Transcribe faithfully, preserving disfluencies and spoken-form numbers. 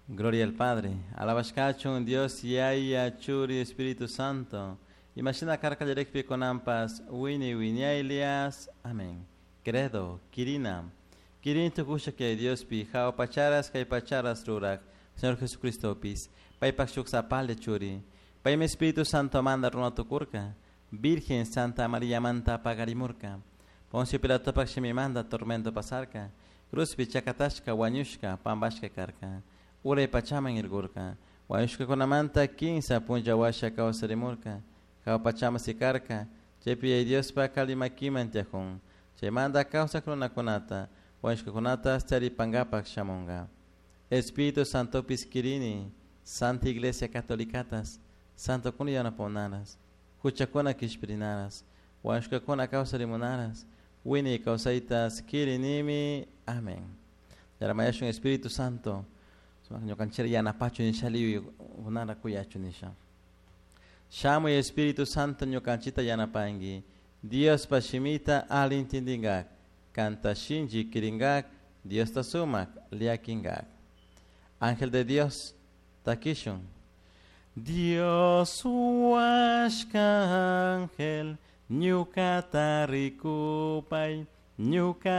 Gloria al Padre. Alabashkachun Dios Yaya Churi Espíritu Santo. Imashina karka kallarikpi kunanpas wini wiñaylias. Amén. Credo, Quirina. Quirin tukusha que Dios pi jao pacharas kay pacharas rurak. Señor Jesucristo pis. Paypak shuk sapale churi. Paymi Espíritu Santo manda runa tukurka. Virgen Santa María manta pagarimurka. Poncio Pilato pak shimimanda tormento pasarka. Cruzpi chakatashka wañushka pambashka karka. Uray pachaman irgurka. Wañushkakunamanta kinsa punlla washa kawsarimurka. Hawa pachaman sikarka. Chaypi Yaya Diospak alli makiman tiyakun. Chaymanta kawsak runakunata wañushkakunata charipankapak shamunka. Espíritu Santopis kirini, Santa Iglesia Catolicatas, Santokuna yanapakunaras, huchakuna kishpirinaras, wañushkakuna kawsarimunaras, wiñay kawsaytas kirinimi. Amén. Yaramayashun Espíritu Santo, ñukanchik yanapachu nisha kunara kuyachu nisha. Shamuy Espíritu Santo ñukanchikta yanapanki, Diospa shimita alli intindinkak, kanta shinchi kirinkak, Diosta sumak llakinkak. Ángel de Dios, takishun. Dios huashka ángel, ñukata rikupay, ñuka